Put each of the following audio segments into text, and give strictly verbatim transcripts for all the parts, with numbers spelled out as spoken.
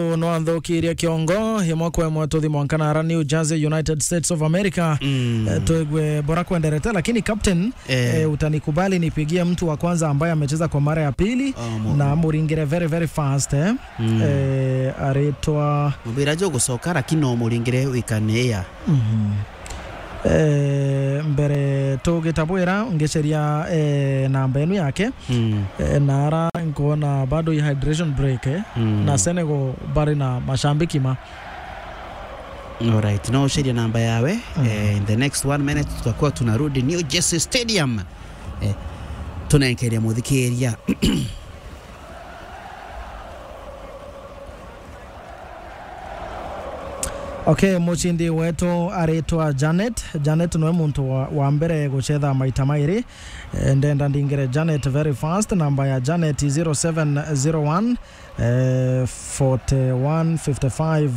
Nwanthukirie kiongo, imwe kwa imwe tuthi mwanka nara New Jersey, United States of America. Mm. Eh, tuigue bora kwenderete, lakini captain, eh, eh, utanikubali nipigie mtu wa kwanza ambaye amecheza kwa mara ya pili, oh, mu- na muringire very, very fast, eh. Mm. Eh, aritwa mubira jo gucoka, lakini no muringire wikania. Mhm. Eh, mbere tugitabwira, ngiceria, eh, namba enu yake. Mm. Eh, nara nkuona bado i hydration break, eh. Mm. Na Senegal bari na mashabiki ma. Alright, no ucerie namba yawe. Mm. Eh, in the next one minute tutakuwa tunarudi New Jersey Stadium. Eh, tunenkeria muthikiria. Okay, mucindi wetu aritwa Janet. Janet niwe muntu wa, wa mbere gucetha maita mairi. Eh, ndenda ndingire Janet very fast. Namba ya Janet zero seven zero one, eh, forty one fifty five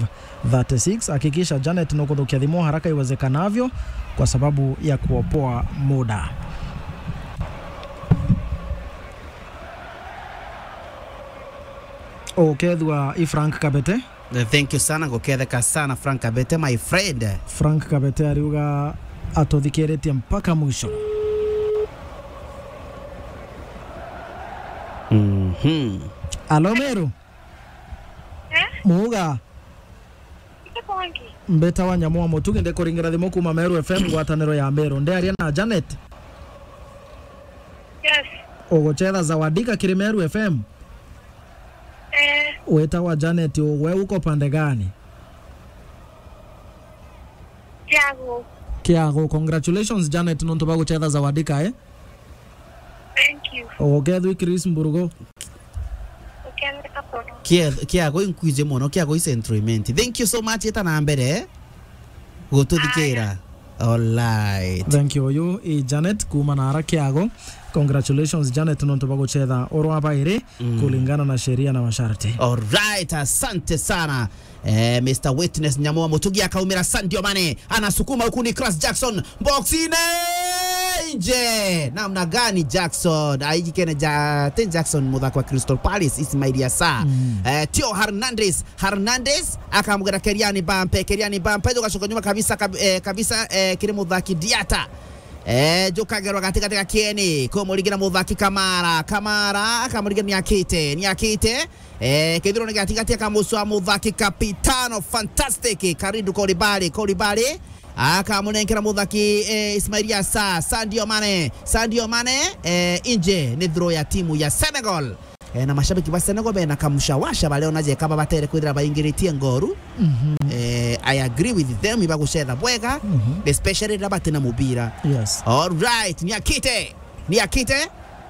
thirty six. Hakikisha Janet nukuthukia thimu haraka iwezekanavyo kwa sababu ya kuopoa muda. Ukethua i Frank Kabete. Eh, thank you sana, nguketheka sana Frank Kabete, my friend. Frank Kabete ariuga atuthikiritie mpaka mwisho. Mhm. Alo, Meru? Eh? Muuga? Mbeta wa Nyamu wa Mutugi, ndikuringira thimu kuma Meru F M, ngwataniro ya Meru. Ndiaria na Janet? Yes. Ugucetha Zawadika kiri Meru F M? Eh. Witagwa Janet, we uko pande gani? Kiagu. Kiagu. Congratulations, Janet, nontu ba gucetha Zawadika, eh? Thank you. Ugukethwi Chris Mburugu. Uketheka pono. Kia, Kiagu inkwije mono, Kiagu is entertainment. Thank you so much, eta na mbere, eh? Gututhikira. Aya. Alright. Thank you. Uyu i Janet kuma nara Kiagu. Congratulations, Janet, nontu ba gucetha urwa bairi, mm, kulingana na sheria na masharti. Alright, asante sana. Eh, Mister Witness Nyamu wa Mutugi akaumira Sadio Mane. Anasukuma huku ni Nicolas Jackson. Boxini nje. Namna gani Jackson? Aijikene ja, ten Jackson muthaki wa Crystal Palace, Ismail Assar. Mm. Eh, Theo Hernandez. Hernandez akamugera Kylian Mbappe. Kylian Mbappe jugacoka nyuma kabisa, kab-, eh, kabisa, eh, kiri muthaki Diatta. Eh, jukagerwa gatigati ga kieni. Kumurigira muthaki Kamara. Kamara akamurigira Niakite. Niakite. Eh, kithirone gatigati akamucwa muthaki Capitano Fantastic, Kalidou Koulibaly, Koulibaly. Akamunenkera muthaki, eh, Ismail Assar, Sadio Mane, Sadio Mane, eh, inje ni throw ya timu ya Senegal. Eh, na mashabiki ba Senegal bena kamushawasha bareona jeka babatere kwithira baingiritie ngoru. Mhm. Eh, I agree with them, ibagucetha bwega, mhm, especially riria batina mubira. Yes. All right, Niakite. Niakite.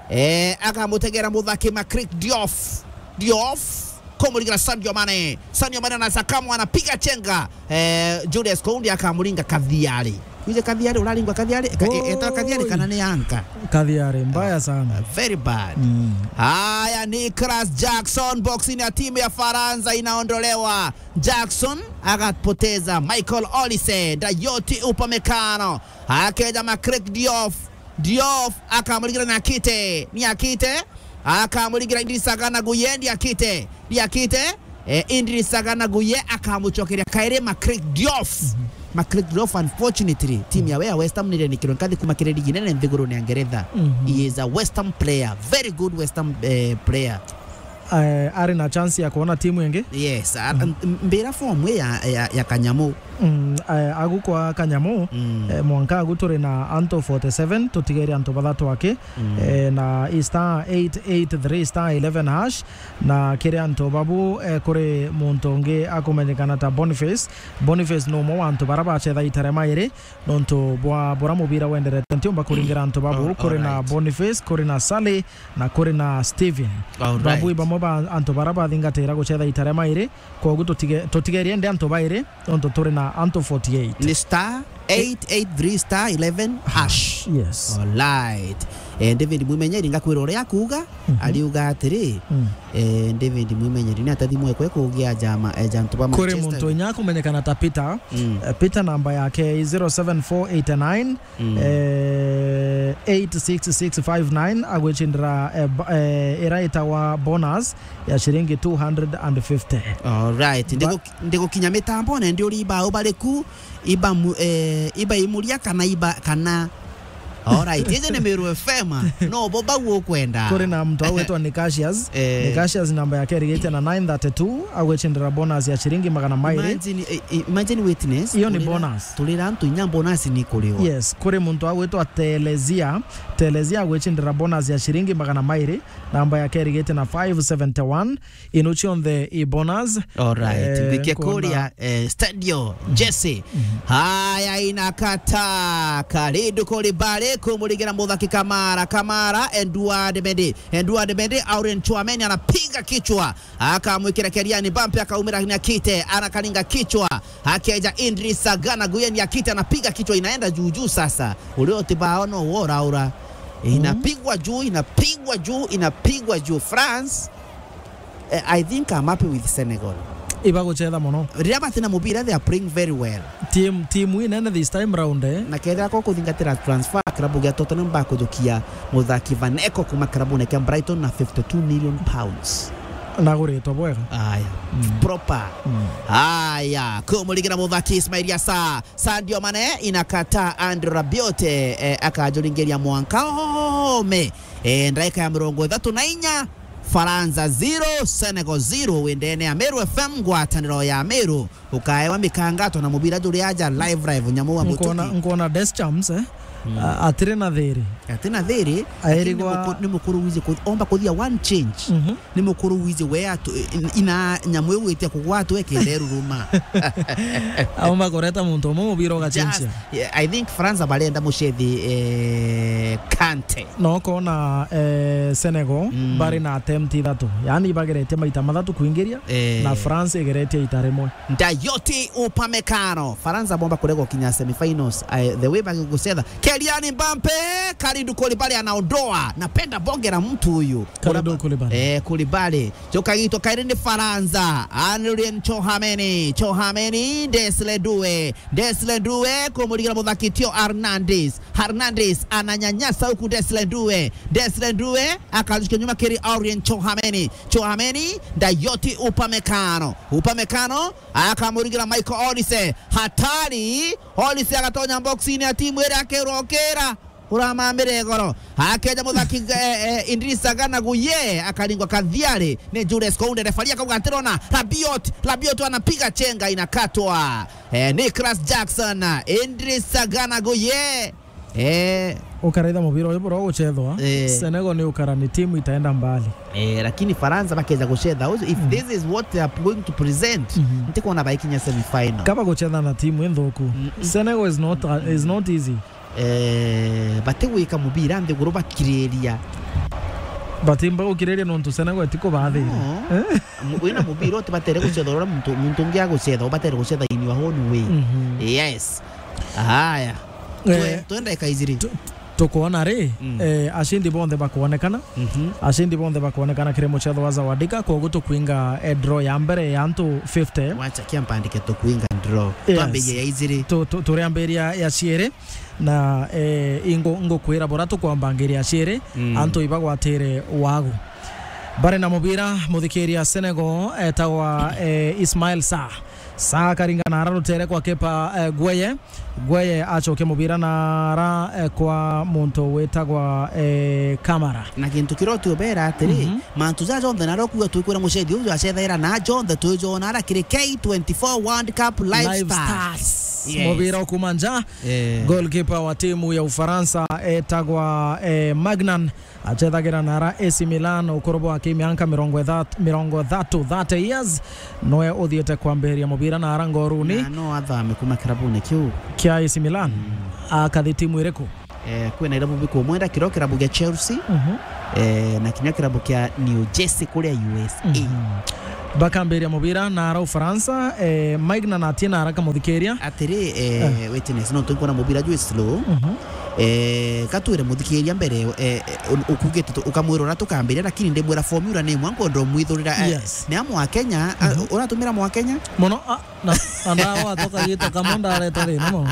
Eh, akamutegera muthaki Makrik Diouf. Diouf. Kumurigira Sadio Mane. Sadio Mane anasakamwa, anapiga chenga. Eh, Julius Kounde akamuringa Kathiari. Wije Kathiari, uraringwa Kathiari? Ka-, e-, eta Kathiari kana ni anka? Kathiari, mbaya sana. Ah, very bad. Mm. Haya, Nicolas Jackson, boxini ya timu ya Faransa inaondolewa. Jackson akapoteza Michael Olise, Dayot Upamecano. Akeja Makrik Diouf. Diouf akamurigira Niakite. Niakite. Akamurigira Idrissa Gana Gueye. Niakite. Niakite. Eh, Idrissa Gana Gueye akamucokeria kairi Makrik Diouf. Mhm. Makrik Diouf, unfortunately, timu yawe ya West Ham nirenikirwe nkathi kuma kiri ligi nene nthigurune ya Ngeretha. Mhm. He is a West Ham player. Very good West Ham, eh, player. Eh, ari na chance ya kuona timu ingi? Yes, a-, mm, m-, mbira form ya, ya, ya Kanyamu. Mm, eh, agu kwa Kanyamu, mm, eh, mwanka agu turi na antu forty seven, tutigere antu bathatu aki, mm, eh, na star eight eight three star eleven hash, na kiri antu babu, eh, kuri muntu ungi akumenyekana ta Boniface. Boniface ni umwe wa antu bara bacetha ita ria mairi, nontu bwa bura mubira wenderete ntiumba kuringira antu babu. Oh, kuri na alright. Boniface, kuri na Sally, na kuri na Steven. Alright. Babu i bamwe ba antu bara bathingatira gucetha ita ria mairi, koguo tutige-, tutigerie ndi antu bairi, nontu turi na antu forty eight. Ni star eight eight three star eleven hash. Yes. Alright. Eh, David Mwimenyeri, ngakwira uria akuuga, mhm, ariuga atiri, mm, eh, David Mwimenyeri ni atathimwe kwe kugia jama, eh, jantu ba Manchester. Kuri muntu inya akumenyekana ta Peter. Mm. Eh, Peter namba yake i zero seven four eight nine, mm, eh, eight six six five nine, agwicindira, eh, ba-, eh, ira itagwa bonus ya ciringi two hundred and fifty. Alright. Ba- Ndigu-, ndigukinya mitambone, ndi uri ibau bariku, iba mu-, eh, iba imuria kana iba, kana Alright, iji ni Meru F M. No bo bau ukwenda. Kuri na muntu agwitwa Nicasius. Eh. Nicasius namba yake irigite na nine thirty-two, agwicindira bonus ya ciringi magana mairi. Imagine, eh, eh, imagine witness. Iyo ni bonus. Turira antu inya bonus ni kuriwa. Yes, kuri muntu agwitwa Telezia. Telezia agwicindira bonus ya ciringi magana mairi. Namba yake irigite na five seventy-one. Ino cionthe i bonus. Alright. Eh, ngwikia nkona kuria, eh, Stadio, Jesse. Mhm. Haya, inakata. Karidu kuri bari kumurigira muthaki Kamara. Kamara, Edouard Mendy. Edouard Mendy, Aurelien Tchouameni anapiga kichwa. Akamwikira Kylian Mbappe, akaumira Niakite, anakaringa kichwa. Akeja Idrissa Gana Gueye, Niakite anapiga kichwa, inaenda juu juu sasa. Uria utibao no woraura. Mhm. Inapigwa juu, inapigwa juu, inapigwa juu. France, eh, I think I'm happy with Senegal. Ibagucetha mono. Riria batina mubira, they are playing very well. Team, team inene this time round, eh? Na kethira ko kuthingatira transfer, klabu gia Tottenham bakujukia muthaki Van Eko kuma klabune kia Brighton na fifty-two million pounds. Naguritwe bwega. Aya. Mm. Proper. Mm. Aya, kumurigira muthaki Ismail Assar, Sadio Mane, inakata Andrew Rabiot, eh, akajuringiria mwanka ome. Eh, ndaika ya mirongo ithatu na inya, Faransa zero, Senegal zero, windene ya Meru F M, ngwataniro ya Meru, ukaewa mikangato na mubira juri aja live, live, nyamu wa mutuki. Nkona, nkona Deschamps, eh? Mm. A-, atiri na thiri. Ati na thiri, aerigwa lakini ni muku-, ni mukuru wizi ku-, omba kuthia one change. Mhm. Ni mukuru wizi we atu-, in-, ina nyamu iu itia kugwatwa ikenda iruruma. Aumba kureta muntu umwe mubira ugacenjia. Just, yeah, I think France barenda mucethi, eh, Kante. No kona, eh, Senegal, mm, bari na attempt ithatu. Yaani ibageretie maita mathatu kuingiria, eh, na France igeretie ita rimwe. Dayot Upamecano. France bomba kurega gukinya semifinals. Eh, the way bagigucetha. Kylian Mbappe, Kalidou Koulibaly anaondoa. Napenda bonge la mtu huyu. Kalidou Koulibaly. Eh, Koulibaly. Joka gitwa kairi ni Faransa. Aurelien Tchouameni. Tchouameni, Dessiré Doué. Dessiré Doué, kumurigira muthaki Theo Hernandez. Hernandez ananyanyasa huku Dessiré Doué. Dessiré Doué, akarushika nyuma kiri Aurelien Tchouameni. Tchouameni, Dayot Upamecano. Upamecano, akamurigira Michael Olise. Hatari! Olise agatonya box-ini ya timu iria akirwa ukira. Uramamire igoro. Akeja muthaki, eh, eh, Idrissa Gana Gueye, akaringwa kathiari ni Jules Kounde. Refari akauga atirona. Rabiot, Rabiot anapiga chenga, inakatwa. Eh, Nicolas Jackson, Idrissa Gana Gueye. Eh. Ukaraitha mubira uyu bura ugucethwa. Eh. Senegal ni ukara ni timu itaenda mbali. Eh, lakini Faransa bakeza gucetha uju, if, mm, this is what they are going to present, mhm, ntikwona baikinya semi final. Kaba gucetha na timu inthuku. Mm-mm. Senegal is not, uh, is not easy. Eh, batigwika mubira nthiguru bakiriria. Batimba gukiriria nontu Senegal itikubathira. No. Eh? Mu-, wina mubira utibatere gucetha uria muntu, muntu ungi agucetha, ubatere gucetha in your own way. Mhm. Yes. Haya. Eh, twe-, twenda ikaijiri. Tu-, tukwona ri, mm, eh, acindi bonthe bakwonekana. Mhm. Acindi bonthe bakwonekana kiri mucetho wa Zawadika, kwogu tukwinga, eh, draw ya mbere ya antu fifty. Wacha kia mpandike tukwinga draw. Yes. Twambirie ya ijiri. Tu-, tu-, turiambiria ya ciiri. Na, eh, ingo-, ngukwira bura tukwambangiria ciiri, mm, antu ibagwatire wagu. Bari na mubira, muthikiria Senegal etagwa, eh, Ismail Sarr. Sarr akaringana ara rutere kwa kipa, eh, Gueye. Gueye acokia mubira na ara, eh, kwa muntu witagwa, eh, Kamara. Na gintu kiria utiubera atiri, mhm, mantu jaja jonthe nario kuga twikwira mucethi uju acethaira na jonthe twijona ara kiri K twenty-four World Cup Live, Live Stars. Stars. Yes. Mubira ukuma nja. Eh. Goalkeeper wa timu ya Ufaransa etagwa, eh, Magnan, acethagira na ara A C Milan, ukuru bwake mianka mirongo ithatu, mirongo ithatu, thirty years. Noe uthiete kwambiria mubira na ara ngoruni. Na no athame kuma kirabune kiu kia A C Milan. Mm. Akathi timu iriku? Eh, kwina irabu bikumwenda, kirio kirabu gia Chelsea, mhm, eh, na kinya kirabu kia New Jersey kuria U S A. Mhm. Bakambiria mubira na ara Ufaransa, eh, Maignan atie na ara kamuthikiria. Atiri, eh, witness, no tukwona mubira jwi slow. Mhm. Eh, katwire muthikiria mbere, eh, eh, u-, ukugite tu-, ukamwira uria tukambiria, lakini ndimwira formula ni imwe, nkwenda umwithurira, eh, Yes. ni a Mwakenya, a, Mhm. uratumira Mwakenya? Muno, a, na, na ndawa toka gito kamwe ndareta thina mo.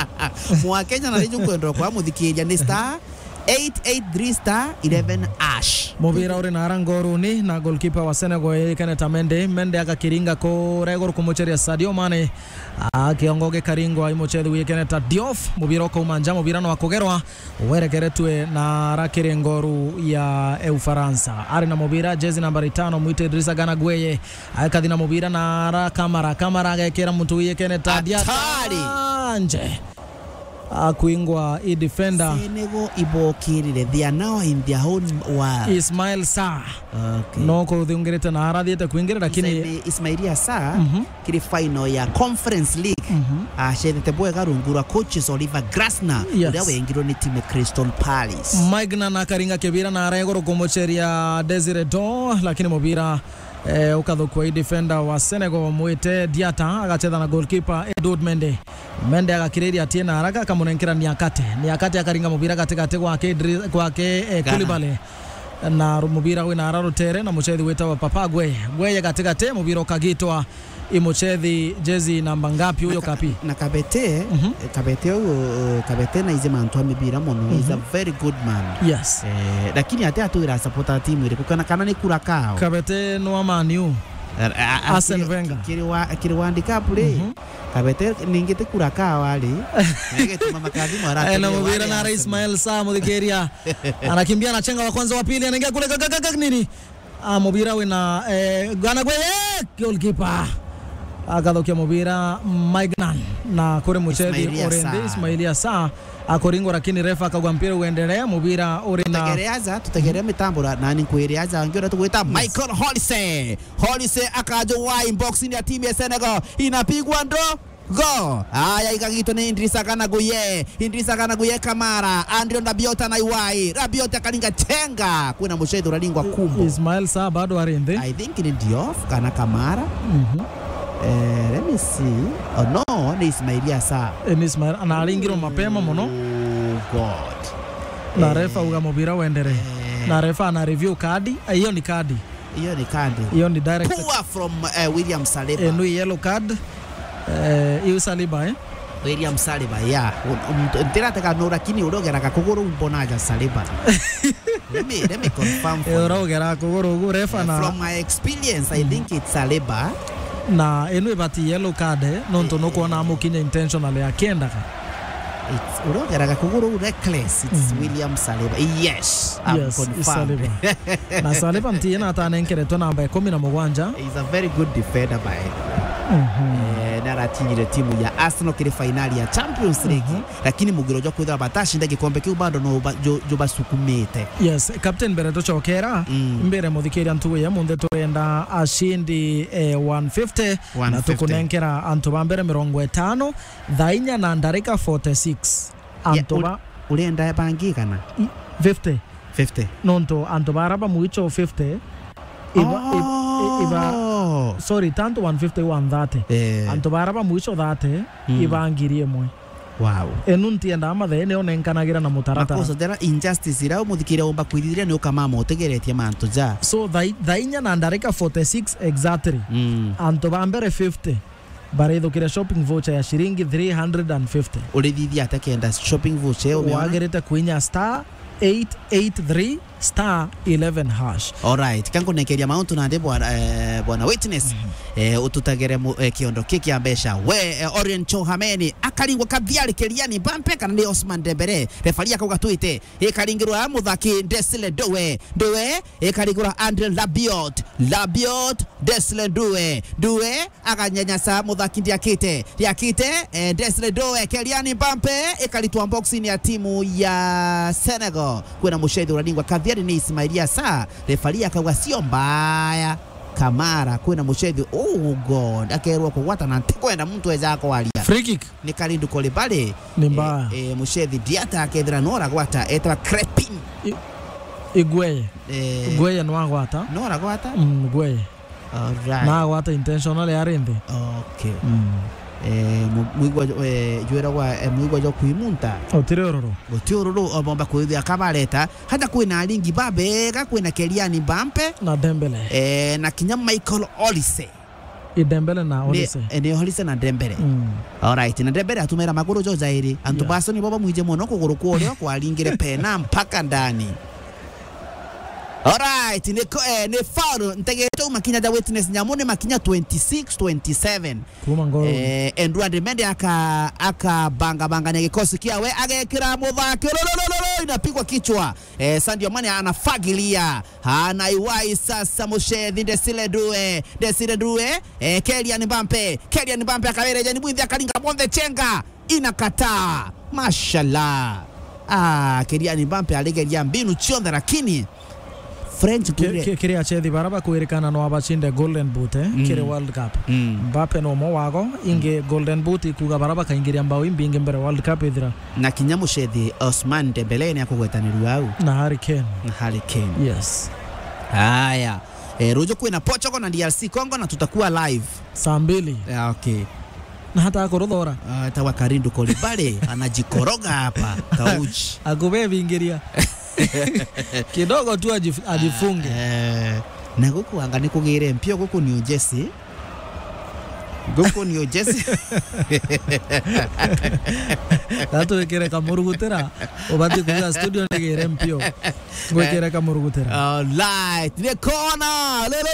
Mwakenya na riju nkwenda kwa muthikiria ni star eight eight three star eleven hash. Mubira uri na ara ngoruni na goalkeeper wa Senegal yikene ta Mende. Mende agakiringa kuria iguru kumucheria Sadio Mane. A, kiongo gikaringwa i muchethi wikene ta Diouf. Mubira ukauma nja, mubira no akugerwa. Werekeretwe na ara kiri ngoru ya, e, Ufaransa. Ari na mubira, jezi nambari tano, mwite Idrissa Gana Gueye. Akathi na mubira na ara Kamara. Kamara agekira muntu wikene ta Diata. Hatari! Nje. Akwingwa i defender. Senegal ibokirire. They are now in their own world. Ismail Sarr. Okay. No kuthungirite na arathiete kwingire, lakini Ismaili-, Ismaili Assar, Mhm. kiri final ya Conference League, Mhm. acethete bwega rungu rwa coaches Oliver Glasner, Yes. uria wengirwe ni timu ya Crystal Palace. Maignan akaringa kibira na ara iguru kumucheria Desire Doh, lakini mubira, eh, ukathukua i defender wa Senegal, mwite Diata, agachetha na goalkeeper Edouard Mendy. Mendy agakiriria atie na haraka, akamunenkera Niakate. Niakate akaringa mubira gatigati gwake Idri-, gwake, eh, Gana. Koulibaly. Na ru-, mubira wina ara rutere na muchethi witawa Papa Gueye. Gueye gatigati, mubira ukagitwa i muchethi jezi namba ngapi uyo Kapi? Na Kabete, Mhm. eh, Kabete uyu, eh, Kabete na ize mantu a mibira mono. He's a Mhm. very good man. Yes. Eh, lakini ate atwira supporter timu iriku kana, kana ni kura kao? Kabete no a Man U. A-, a-, a-, Arsene kiri, Wenger. kiri wa, kiri World Cup ri? Mhm. Kabete ningi ti kura kawa ri. Na igetuma makathimo ara Eh, na atiri mubira wale na ara Arsenal. Ismail Sarr muthikiria. Anakimbia, anachenga wa kwanza, wa pili, anaingia kule, ga, ga, ga, ga, nini? Ah, mubira wina, eh, Gana Gueye, eh, goalkeeper. Akathukia mubira Maignan na kuri muchethi Ismaili Assar. Ismaili Assar. Akuringwa, lakini refa akauga mpira uendelee, mubira uri na Tutegereaza, tutegerea mitambo ra-, nani nkwiriaza, ngiona tugwita Michael Olise. Olise akaja wai box-ini ya timu ya Senegal. Inapigwa ndo go. Aya, igagitwa ni Idrissa Gana Gueye. Idrissa Gana Gueye Kamara. Andrew Rabiot na iwai. Rabiot akaringa chenga. Kwina muchethi uralingwa kumbo. Ismail Sarr bado ari nthi. I think ni Diouf kana Kamara. Mhm. Eh, let me see. Oh, no, ni Ismaili Assar. Eh, ni Ismail, na aringirwo mapema muno. Oh, God. Na Eh. refa uga mubira uendelee. Eh. Na refa ana review kadi. Eh, hiyo ni kadi. Hiyo ni kadi. Hiyo ni direct. Poor from, eh, William Saliba. Eh, no yellow card. Eh, hiyo Saliba, eh? William Saliba, yeah. Um, um, ntiratega no, lakini uria ugeraga kuguru mbona aja Saliba. Let me, let me confirm for Eh, you. Uria ugera kuguru ugu refa Eh, na from my experience, I Mm. think it's Saliba. Na ino ibati yellow card, eh, nontu Eh. nukwona amukinya intentionally akiendaga. It's, uria ugeraga kuguru reckless, it's Mm. William Saliba. Yes, I'm Yes, it's confirmed. Saliba. Na Saliba ntiye na atanenkeretwe namba ikumi na mugwanja. He's a very good defender by Mhm. Eh, naratinyire timu ya Arsenal kiri fainali ya Champions League, Mhm. lakini mugiro jwa kwithira batacinda gikombe kiu bado no ba-, ju-, jubasukumite. Yes, captain, mbere tucokera, Mm. mbere muthikiria ntugu ya munthe turenda acindi, eh, one fifty, na one fifty. Tukunenkera antu ba mbere mirongo itano, thaa inya na ndarika forty-six. Ye, Antu uri-, ba urenda bangi kana? I-, fifty. Fifty. Nontu antu bara ba mwicho fifty, iba-, ib-, i-, iba-, Oh. sorry, tantu one fifty, one thirty. Eh. Antu bara ba mwicho thirty, Mm. iba ngiri imwe. Wow. Enu ntiendaa mathee nio nenkanagira na mutaratara. Makosa jara injustice ira umuthikiria umba kwithithia ni ukamama utegeretie mantu ja. So, thaa i-, thaa inya na ndarika forty-six exactly. Mm. Antu ba mbere fifty. Barithukire shopping voucher ya shilingi three hundred and fifty. Urithithia atia kenda shopping voucher iyo umiona? Wagirite kwinya star eight eight three star eleven hash. Alright, kankunekeria mauntu nandi bwana, eh, bwana Witness, Mhm. eh, ututagere mu-, eh, kiondo ki kia mbeca. We, eh, Orient Chohameni, akaringwa Kathiari Keliani Mbappe kana ni Osman Dembele. Refari akauga twite, ikaringirwa muthaki Desile Doe. Doe, ikaringirwa Andre Rabiot. Rabiot, Desile Doe. Doe, aganyenyasa muthaki Ndiakite. Ndiakite, eh, Desire Doe, Kylian Mbappe, ikaritwa box-ini ya timu ya Senegal. Kwina mucethi uraningwa Kathiari ni Ismail Assar. Refari akauga sio mbaya. Kamara, kwina mucethi, oh God, akerwa kugwata na ntikwenda muntu eja kwaria. Free kick. Ni Kalidou Koulibaly. Ni mbaya. Eh, eh, mucethi Diata akethira no aragwata, etwa Crepin. I-, Igueye. Eh, Igueye no agwata. No aragwata? Mm, Igueye. Alright. Na agwata intentional ari nthi. Okay. Mm. Eh, mu-, mwigwa, eh, jwiragwa, eh, mwigwa jwa kwimunta. Utiri ururu. Uti ururu, obomba kwithia kabareta. Hata kwina aringi babega, kwina Kylian Mbappe. Na Dembele. Eh, na kinya Michael Olise. I Dembele na Ni, Olise. Eh, ni Olise na Dembele. Mm. Alright, na Dembele atumira maguru jo jairi. Antu Yeah. bacio nibo bamwije mono kuguru kwa urio kwaringire pena mpaka ndani. Alright, ni ko-, eh, ni foul. Ntegete makinya ja witness nyamu ni makinya twenty-six, twenty-seven. Kuma ngoro. Eh, Edouard Mendy aka-, akabangabangania gikosi kiawe, agekira muthaki. Lolololo, inapigwa kichwa. Eh, Sadio Mane anafagilia. Anaiwai sasa mucethi Desire Due. Desire Due. Eh, Kylian Mbappe. Kylian Mbappe akawereja ni mwinthi akaringa monthe chenga. Inakataa. Mashallah. Ah, Kylian Mbappe aligeria mbinu cionthe, lakini French Ki-, kure- ki-, kiri achethi bara bakwirikana no abachinde Golden Boot, eh, Mm. kiri World Cup. Mm. Mbappe no mo wago, ingi Golden Boot ikuga bara bakaingiria mbao imbingi mbere World Cup ithira. Na kinya mucethi Ousmane Dembele ni akugwetanirua au. Na Harry Kane. Na Harry Kane. Yes. Haya. Eh, ruju kwina Portugal na D R C Congo na tutakuwa live. Saa mbili. Yeah, okay. Na hata akuruthora. Ah, tawa Karindu Kolibale, anajikoroga hapa, kauchi. Akubebingiria. Kidogo tu ajif-, ajifunge. Eh, na guku anga ni kugire mpio, guku ni ujesi. Guku ni ujesi. Gatwikire kamurugutira, ubati kuga studio nigire mpio. Ngwikire kamurugutira. Alright. Ni kona. Lo, lo,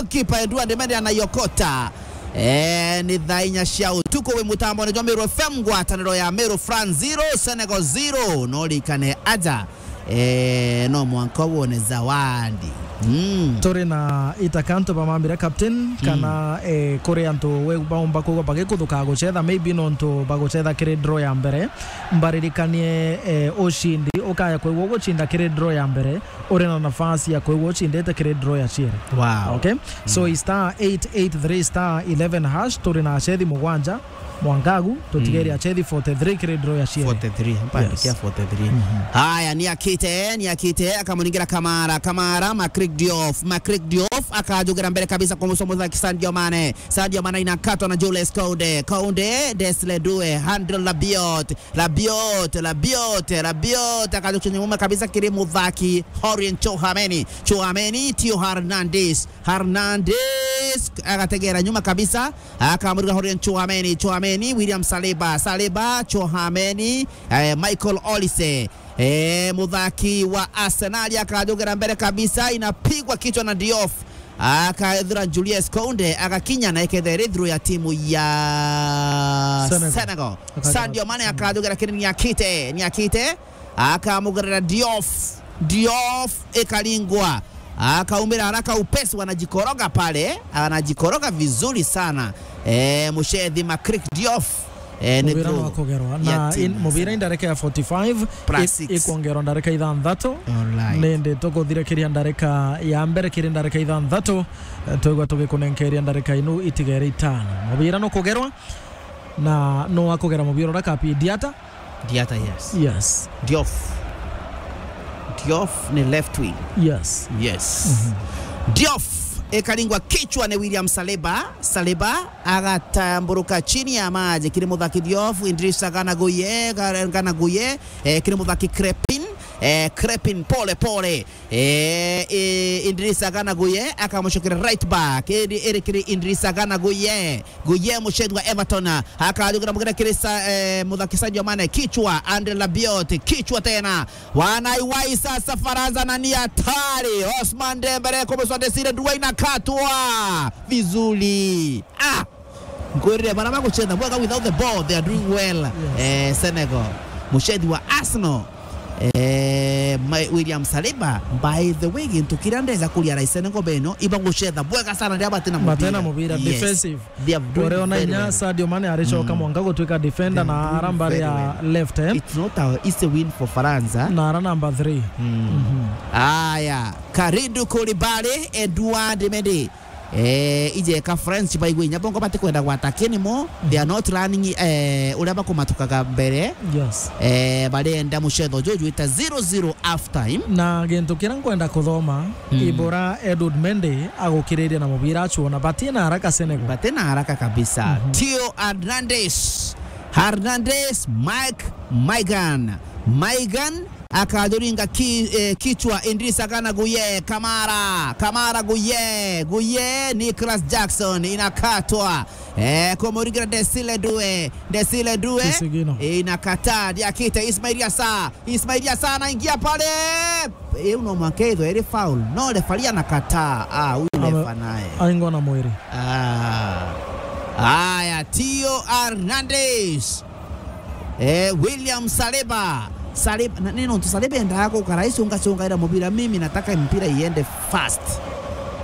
lo. Kipa Edouard Mendy anaiokota. Eh, ni thaa inya cia utuku wi mutambone jwa Meru F M, ngwataniro ya Meru, France zero, Senegal zero. No rikane aja. Eh, no mwanka wone zawadi. Mm. Turi na itakanto bamambire captain, Mm. kana, eh, kuri antu we baumba kugwa bagikuthuka gucetha, maybe nontu bagucetha kiri draw ya mbere. Mbaririkanie, eh, ucindi ukaya kwigua ugucinda kiri draw ya mbere, uri na nafasi ya kwigua ucindite kiri draw ya ciiri. Wow. Okay? So, Mm. i star eight eight three star eleven hash, turi na acethi mugwanja mwankagu, tutigeri Mm. acethi forty-three kiri draw ya ciiri. Forty-three, mpandikia Yes. forty-three. Mhm. Haya, ni akite, ni akite, akamuningira Kamara, Kamara, Macrik Diouf, Macrik Diouf, akajugira mbere kabisa kwa musomo wa Sadio Mane. Sadio Mane inakatwa na Jules Kounde. Kounde, Desire Due, André Rabiot, Rabiot, Rabiot, Rabiot, akajukia nyuma kabisa kiri muthaki, Aurelien Tchouameni. Tchouameni, Theo Hernandez. Hernandez, agategera nyuma kabisa, akamuriga Aurelien Tchouameni. Tchouameni, William Saliba. Saliba, Tchouameni, eh, Michael Olise. Eh, muthaki wa Arsenal akajugira mbere kabisa, inapigwa kichwa na Diouf. Akaethira Jules Kounde, agakinya na ikethera ithiro ya timu ya Senegal. Senegal. Akajugira Sadio Mane akajugira kiri ni akite, ni akite. Akamugerera Diouf. Diouf ikaringwa. Akaumira haraka upesi, wanajikoroga pale. Anajikoroga vizuri sana. Eh, mucethi Macrik Diouf. Eh, ni Mubira through no akugerwa. Ya na timu in-, ya mubira Senegal. Indareka ya forty-five, Plus i-, six. Ikwongerwa ndareka ithanthatu. Alright. Nindi tukuthirakiria ndareka ya mbere kiri ndareka ithanthatu. Eh, twigua tugikunenkeria ndareka inu itigere itano. Mubira no kugerwa na no akugera mubira uria kapi Diata. Diata, yes. Yes. Diouf. Diouf ni left wing. Yes. Yes. Mhm. Diouf ikaringwa kichwa ni William Saliba. Saliba agatamburuka chini ya maji kiri muthaki Diouf, Idrissa Gana Gueye, Ga-, Gana Gueye, eh, kiri muthaki Crépin, eh, Crépin pole pole. Eh, eh, Idrissa Gana Gueye akamucokera right back. Iri, iri kiri Idrissa Gana Gueye. Gueye mucethi wa Everton. Akajugira mugere kiri sa-, eh, muthaki Sadio Mane. Kichwa, André Rabiot. Kichwa tena. Wanaiwai sasa Faransa na ni hatari. Ousmane Dembele kumuswa Desire Due inakatwa. Vizuri. Ah! Nkwirire bara bagucetha bwega without the ball, they are doing well. Yes. Eh, Senegal. Mucethi wa Arsenal. Eh, Ma-, William Saliba, by the way, gintu kiria ndeza kuria rai Senegal beno, ibagucetha bwega sana riria batina mubira. Batena mubira, yes. Defensive. They are doing Ore ona very inya well. Sadio Mane aricoka Mm. mwanka gutuika defender They are na doing ara mbari very ya well. Left, eh? It's not a easy win for France, eh? Na ara number three. Mm. Mhm. Aya, Kalidou Koulibaly, Edouard Mendy. Eh, ijeka French baigwe inya bongo batikwenda gwata kinimo, they are not running, eh, uria bakumatukaga mbere. Yes. Eh, barenda mucetho juju jwita zero zero half time. Na gintu kiria nkwenda kuthoma, mm, ibora Edward Mendy agukiriria na mubira acuona, batina haraka Senegal. Batina haraka kabisa. Mhm. Theo Hernandez, Hernandez, Mike, Maigan, Maigan, akajuringa ki, eh, kichwa Idrissa Gana Gueye, Kamara, Kamara Gueye, Gueye, Nicolas Jackson, inakatwa. Eh, kumuringira Desile Due, Desile Due, Isigino. Eh, inakataa, diakite Ismail Yasa, Ismail Yasa anaingia pale. Eh, uno mwanka ithwe iri foul. No, refari anakataa. Ah, huyu Ame-, refa naye. Aingwa na mwiri. Ah. Aya, Theo Hernandez. Eh, William Saliba. Saliba, na, ni nontu Saliba endaga gukara icunga cungaira mubira, mimi nataka mpira iende fast.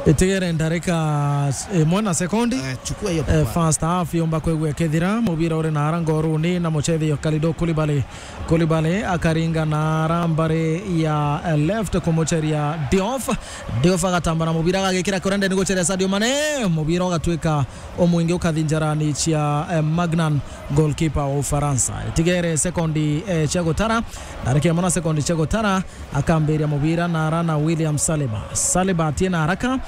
Itigere ndarika, eh, imwe na sekondi. Eh, chukua hiyo, eh, papa. First half yomba kwigua ikithira, mubira uri na ara ngoruni na muchethi yo Kalidou Koulibaly. Koulibaly akaringa na ara mbari ya, eh, left kumucheria Diouf. Diouf agatamba na mubira agagikira kurenda ni gucheria Sadio Mane. Mubira ugatwika umwingi ukathi njarani cia, eh, Magnan, goalkeeper wa Ufaransa. Itigere sekondi, eh, cia gutara, na reke mona sekondi cia gutara, akambiria mubira na ara na William Saliba. Saliba atie na haraka,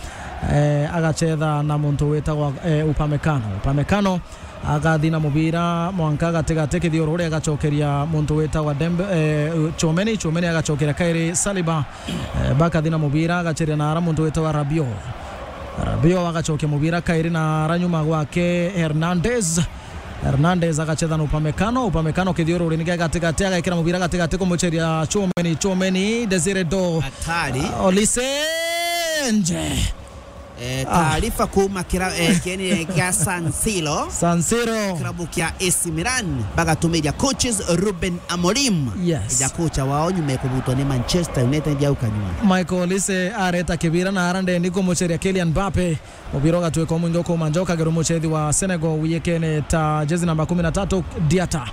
eh, agachetha na muntu witagwa, eh, Upamecano. Upamecano agathi na mubira mwanka gatigati kithiururi, agacokeria muntu witagwa Dembe, eh, Chomeni. Chomeni agacokeria kairi Saliba. Eh, bakathi na mubira, agacheria na ara muntu witagwa Rabiot. Rabiot agacokia mubira kairi na ara nyuma gwake Hernandez. Hernandez agachetha na Upamecano. Upamecano kithiururi ni gia gatigati, agekira mubira gatigati kumucheria Chomeni. Chomeni, Desire Doh. Hatari. Ah, Olise nje. Eh, ah, taarifa kuuma kira-, eh, kieni kia San Siro. San Siro. Kirabu kia A C Milan bagatumiria coaches Ruben Amorim. Yes. Eja kocha wao nyuma ya kubutwa ni Manchester United au kanyuma. Michael Olise areta kibira na ara ndeni kumucheria Kylian Mbappe. Mubira ugatwika umwingi ukuma njoka geru muchethi wa Senegal wiyekene ta jezi namba kumi na tatu, Diata.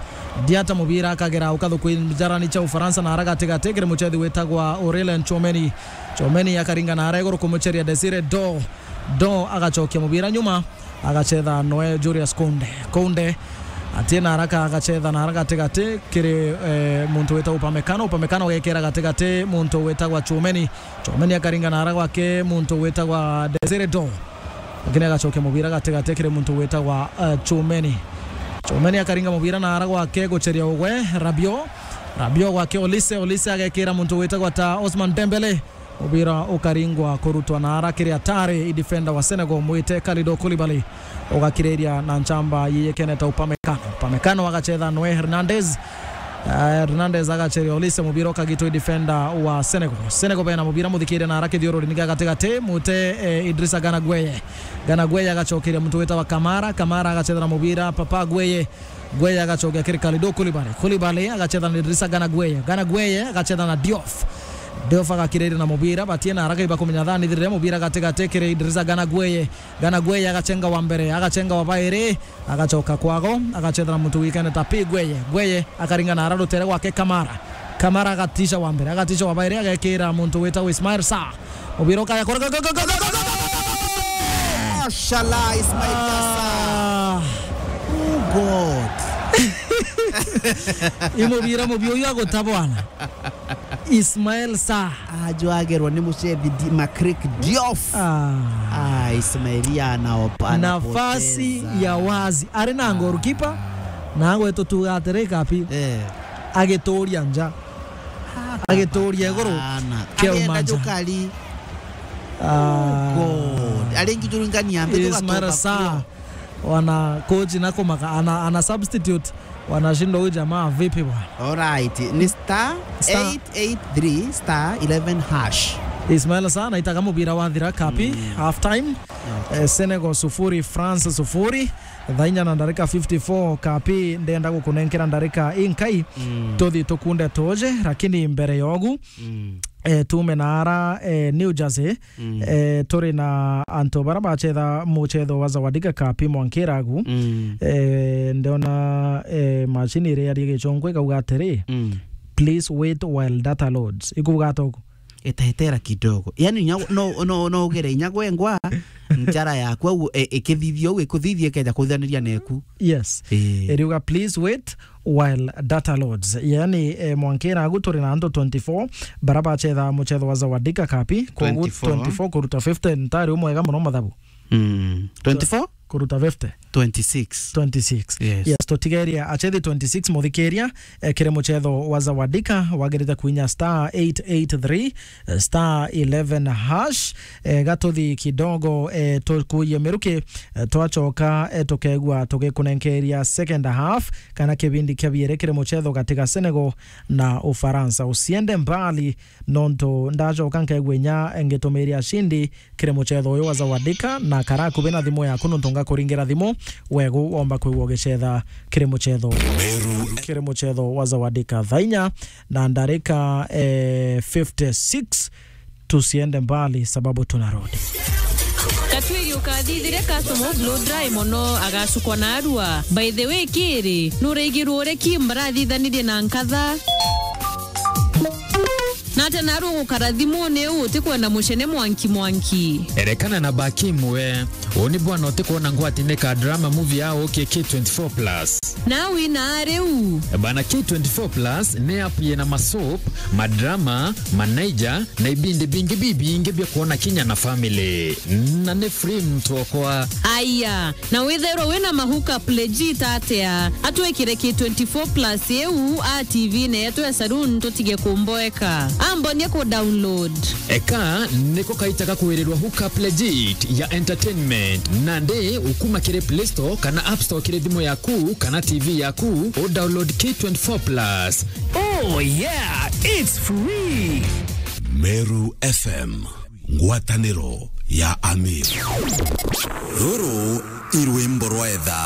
Diata mubira akagera ukathuku njarani cha Ufaransa na ara gatigati kiri muchethi witagwa Aurelien Chouameni. Chouameni akaringa na ara iguru kumucheria Desire Doh. Doh agacokia mubira nyuma, agachetha noe Julius Kounde. Kounde atie na haraka, agachetha na haraka gatigati kiri, eh, muntu witagwa Upamecano. Upamecano agekira gatigati muntu witagwa Chouameni. Chouameni akaringa na haraka gwake muntu witagwa Desire Doh. Lakini agacokia mubira gatigati kiri muntu witagwa, eh, Chouameni. Chouameni akaringa mubira na haraka gwake gucheria ugwe Rabiot. Rabiot gwake Olise. Olise agekira muntu witagwa ta Ousmane Dembele. Mubira ukaringwa kurutwa na ara kiri atari i defender wa Senegal mwite Kalidou Koulibaly. Ugakiriria na nchamba yiyekene ta Upamecano. Upamecano agachetha noe Hernandez. Eh, Hernandez agacheria Olise, mubira ukagitwa i defender wa Senegal. Senegal bena mubira muthikire na ara kithiururi ni gia gatigati, mwite, eh, Idrissa Gana Gueye. Gana Gueye agacokeria muntu witagwa Kamara. Kamara agachethera mubira Papa Gueye. Gueye agacokia kiri Kalidou Koulibaly. Koulibaly agachetha na Idrissa Gana Gueye. Gana Gueye agachetha na Diouf. Diouf agakiriria na mubira, batie na haraka ibakumenya thani thirire mubira gatigati kiri Idrissa Gana Gueye. Gana Gueye agachenga wa mbere, agachenga wa bairi, agachoka kwago, agachethera muntu wikene ta Pi Gueye. Gueye akaringa na ara rutere gwake Kamara. Kamara agatisha wa mbere, agatisha wa bairi, agekira muntu witagwa Ismail Sarr. Mubira ukaya kore, go, go, go! Mashallah, Ismail Sarr. Ah. Oh, God. I mubira mubi uyu aguta bwana. Ismail Sarr. Ajwagerwa ni mucethi Di-, Makrik Diouf. Ah. Ah, Ismail ana op-, anapoteza. Nafasi ya wazi. Ari na goalkeeper, na agwetu tuga atiri Kapi. Eh. Agituria nja. Ah, agituria iguru. Hapana. Kio agenda manja. Jukari. Ah. Oh, God. Ari ngijuringania mbi Ismail tugatoka Sarr. Kuo. Wana coach na kumaka, ana, ana substitute. Wanashindwa huyu jamaa vipi bwana? Alright, ni star, star eight eight three star eleven hash. Ismail Sarr aitaga mubira wathira Kapi, mm, half time. Okay. Eh, Senegal sufuri, France sufuri. Thaa inya na ndarika fifty-four, Kapi, ndenda gukunenkera ndarika inkai. Mm. Tuthi tukunde tuje, lakini mbere yogu, mm, eh, tume na ara, eh, New Jersey, mm, eh, turi na antu bara bachetha muchetho wa Zawadika Cup mwankiragu. Mm. Eh, ndiona, eh, machine iria yari gichongo ikauga atiri, mm, "Please wait while data loads." Ikuuga atogo? Etaetera kidogo. Yani, inya, no, no, no ugere inya gwengwa, njara yaku au, e, ikithithia au, ikuthithia ikeja kuthithaniria neku. Yes. Ii. Iriuga, "Please wait while data loads." Yani, e, mwanka iragu turi na antu twenty-four bara bachetha muchetho wa Zawadika Kapi. Kogu twenty-four. Twenty-four kuruta fifty ntari umwega muno mathabu. Mm. Twenty-four? Kuruta fifty. Twenty-six. Twenty-six. Yes. Yes, tutigeria achethi twenty-six muthikiria, eh, kiri muchetho wa Zawadika, wagirite kuinya star eight eight three, eh, star eleven hash. Eh, gatuthi kidogo, eh, tukuye miruki, eh, twachoka, eh, tukegua tugikunenkeria second half, kana kibindi kia biere kiri muchetho gati ga Senegal na Ufaransa. Usiende mbali, nontu ndachoka nkegua inya ngitumiria ashindi kiri muchetho uyu wa Zawadika, na kara akubi na thimu yaku, nontu ngakuringira thimu, wegu womba kwigua ugichetha kiri muchetho, Meru. Kiri muchetho wa Zawadika. Thaa inya na ndarika, eh, fifty-six. Tusiende mbali sababu tunarudi. Katwiri ukathithire customer blow dry mono, agacukwa na arua. By the way, kiri, nuraigirwo uria Kim barathithanirie na nkatha? Na ata naru ugukara thimuni uu utikwenda mucene mwanki mwanki? Erekana na Bakim we. Uu ni bwana utikwona ngwati ni ka drama movie ya ukie K twenty-four plus. Na wina riu? Bana, K twenty-four plus ni app yina masoap, madrama, manaija, na ibindi bingi bibingi bia kwona kinya na family. Na ni free mtu okwa. Aya, na withairwa wina ma hookup legit atia? Atwikire K twenty-four plus iu a T V-ini yetu ya saloon tutige kumboeka. Ambonie ku download. Eka niko kaita ga kwirirwa hookup legit ya entertainment. Nandi ukuma kiri Play Store kana App Store kiri thimu yaku kana T V yaku, u download K twenty-four plus. Oh yeah, it's free. Meru F M, ngwataniro ya Amir. Ruru i rwimbo rwa etha.